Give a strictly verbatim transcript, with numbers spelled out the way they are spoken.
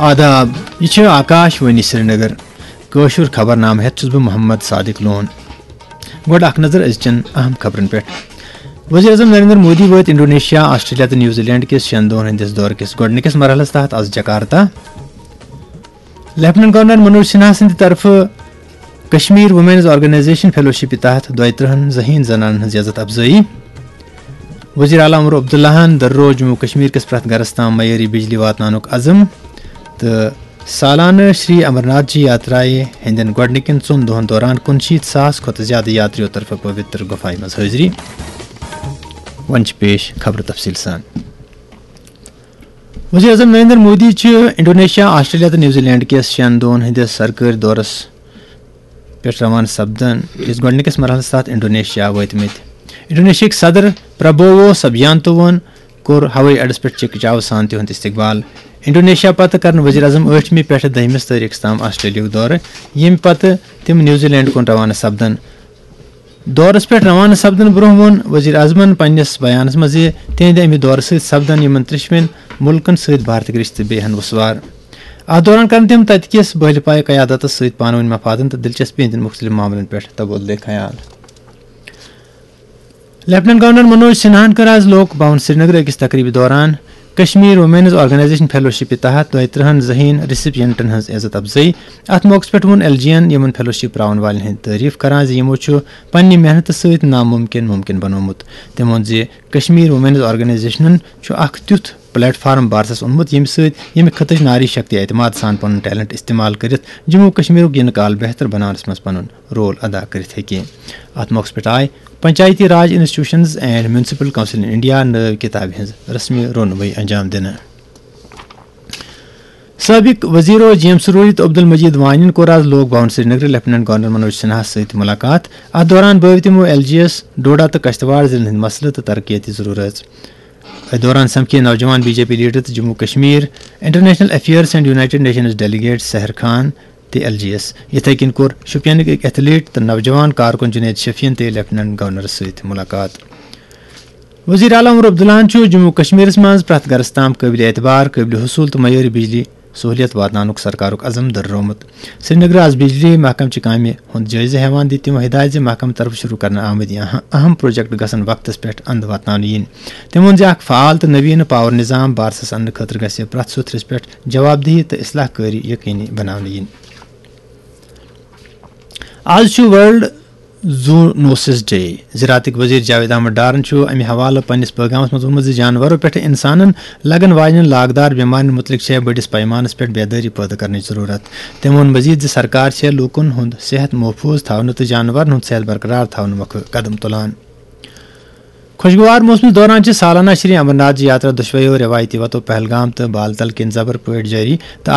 آداب، یہِ چھِ آکاش وانی سرینگر۔ کٲشُر خبرنامہٕ ہٮ۪تھ چھُس بہٕ محمد صادق لون۔ گۄڈٕ اکھ نظر أزچٮ۪ن اہم خبرن پٮ۪ٹھ۔ وزیر اعظم نریندر مودی وٲتۍ انڈونیشیا، آسٹریلیا تہٕ نیوزی لینڈ کِس شٮ۪ن دۄہن ہٕنٛدِس دورٕ کِس گۄڈٕنِکِس مرحلس تحت از Jakarta. Lieutenant governor Manoj Sinha سٕنٛدِ طرفہٕ کشمیر وومینز آرگنائزیشن فیلوشپ تحت دۄیہِ ترٕٛہن ذہین زنانن ہٕنٛز عزت افزٲیی۔ وزیر اعلیٰ عمر عبداللہن درو جموں کشمیر کِس پرٛٮ۪تھ گرس تام معیٲری بجلی واتناونُک عزم۔ تہٕ سالانہٕ شری امرناتھ جی یاترایہِ ہٕنٛدٮ۪ن گۄڈٕنِکٮ۪ن ژۄن دۄہن دوران کُنشیٖتھ ساس کھۄتہٕ زیادٕ یاترِیو طرفہٕ پویتر گُفایہِ منٛز حٲضری۔ وۄنۍ چھِ پیش خبرٕ تفصیٖل سان۔ وزیر اعظم نریندر مودی چھِ انڈونیشیا، آسٹریلیا تہٕ نیوزی لینڈ کِس شٮ۪ن دۄہن ہٕنٛدِس سرکٲرۍ دورس پٮ۪ٹھ روانہٕ سپدن کِس گۄڈٕنِکِس مرحلس تحت انڈونیشیا وٲتمٕتۍ۔ انڈونیشیاہٕکۍ صدر پرابوو سبیانتوون کوٚر ہوٲیی اڈس پٮ۪ٹھ چکچاو سان تِہُنٛد استقبال۔ انڈونیشیا پتہٕ کرن وزیر اعظم ٲٹھمہِ پٮ۪ٹھٕ دٔہمِس تٲریخس تام آسٹریلیاہُک دورٕ، ییٚمہِ پتہٕ تِم نیوزی لینڈ کُن روانہٕ سپدن۔ دورس پٮ۪ٹھ روانہٕ سپدن برونٛہہ ووٚن وزیر اعظمن پننِس بیانس منٛز زِ تِہنٛدِ امہِ دورٕ سۭتۍ سپدن یِمن ترٛیٚشوٕنۍ مُلکن سۭتۍ بھارتٕکۍ رشتہٕ بیٚیہِ ہن وسوار۔ اتھ دوران کرن تِم تتہِ کِس بٲہلہِ پایہِ قیادتس سۭتۍ پانہٕ ؤنۍ مفادن تہٕ دلچسپی ہٕنٛدٮ۪ن مُختٔلِف معاملن پٮ۪ٹھ تبادلہٕ خیال۔ لیفٹیننٹ گورنر منوج سنہاہن کٔر آز لوک بھون سرینگر أکِس تقریبہِ دوران کشمیر وومینز آرگنائزیشن فیلوشپ تحت دۄیہِ ترٕٛہن ذہین ریسیپینٹن ہٕنٛز عزت افزٲیی۔ اتھ موقعس پٮ۪ٹھ ووٚن ایل جی یَن یِمن فیلوشپ پراون والٮ۪ن ہٕنٛدۍ تعریف کران زِ یِمو چھُ پننہِ محنتہٕ سۭتۍ ناممکن ممکن بنوومُت۔ تٔمۍ ووٚن زِ کشمیر وومینز آرگنائزیشنن چھُ اکھ تیُتھ پلیٹ فارم بارسس اوٚنمُت، ییٚمہِ سۭتۍ ییٚمہِ خطٕچ ناری شکتی اعتماد سان پنُن ٹیلنٹ استعمال کٔرِتھ جموں کشمیرُک یِنہٕ کال بہتر بناونس منٛز پنُن رول ادا کٔرِتھ ہیٚکہِ۔ اتھ موقعس پٮ۪ٹھ آیہِ panchayati raj institutions and municipal council in India نٲوۍ کتابہِ ہٕنٛز رسمی رونمٲیی انجام دِنہٕ۔ سٲبِق وزیرو جی ایم سروری تہٕ عبدالمجید وانین کوٚر آز لوک بھون سرینگرٕ لیفٹیننٹ گورنر منوج سنہاہس سۭتۍ ملاقات۔ اتھ دوران بٲوۍ تِمو ایل جی یس ڈوڈا تہٕ کشتواڑ ضلعن ہٕنٛدۍ مسلہٕ تہٕ ترقیتی ضروٗرت۔ اتھ دوران سمکھے نوجوان بی جے پی لیڈر تہٕ Jammu Kashmir international affairs and United Nations delegate Sehar Khan تہِ ایل جی یس۔ یِتھے کٔنۍ کوٚر شوپینٕکۍ أکۍ ایتھلیٹ تہٕ نوجوان کارکُن جنید شفیعن تہِ لیفٹیننٹ گورنرس سۭتۍ ملاقات۔ وزیر اعلیٰ عمر عبداللہن چھُ جموں کشمیرس منٛز پرٛٮ۪تھ گرس تام قٲبل اعتبار، قٲبل حصول تہٕ معیٲری بجلی سہولیت واتناونُک سرکارُک عزم دۄہرومُت۔ سرینگرٕ آز بجلی محکمہٕ چہِ کامہِ ہُنٛد جٲیزٕ ہٮ۪وان دِتۍ تِمو ہدایت زِ محکمہٕ طرفہٕ شروع کرنہٕ آمٕتۍ اہم اہم پروجیکٹ گژھن وقتس پٮ۪ٹھ اند واتناونہٕ یِنۍ۔ تٔمۍ ووٚن زِ اکھ فعال تہٕ نویٖنہٕ پاور نظام بارسس اننہٕ خٲطرٕ گژھِ پرٛٮ۪تھ سیوٚد رژھِ پٮ۪ٹھ جواب دہی تہٕ اصلاح کٲری یقینی بناونہٕ یِنۍ۔ آز چھُ ورلڈ زوٗنوسس ڈے۔ زراعتٕکۍ وزیر جاوید احمد ڈارن چھُ امہِ حوالہٕ پننِس پیغامس منٛز ووٚنمُت زِ جانورو پٮ۪ٹھٕ انسانن لگن واجنٮ۪ن لاگدار بٮ۪مارٮ۪ن مُتعلق چھےٚ بٔڑِس پیمانس پٮ۪ٹھ بیدٲری پٲدٕ کرنٕچ ضروٗرت۔ تٔمۍ ووٚن مزید زِ سرکار چھےٚ لوٗکن ہُنٛد صحت محفوظ تھاونہٕ تہٕ جانورن ہُنٛد صحت برقرار تھاونہٕ مۄکھٕ قدم تُلان۔ خۄشگوار موسمس دوران چھِ سالانہ شری امرناتھ جی یاترا دۄشویو روایتی وتو پہلگام تہٕ بالتل کِنۍ زبر پٲٹھۍ جٲری تہٕ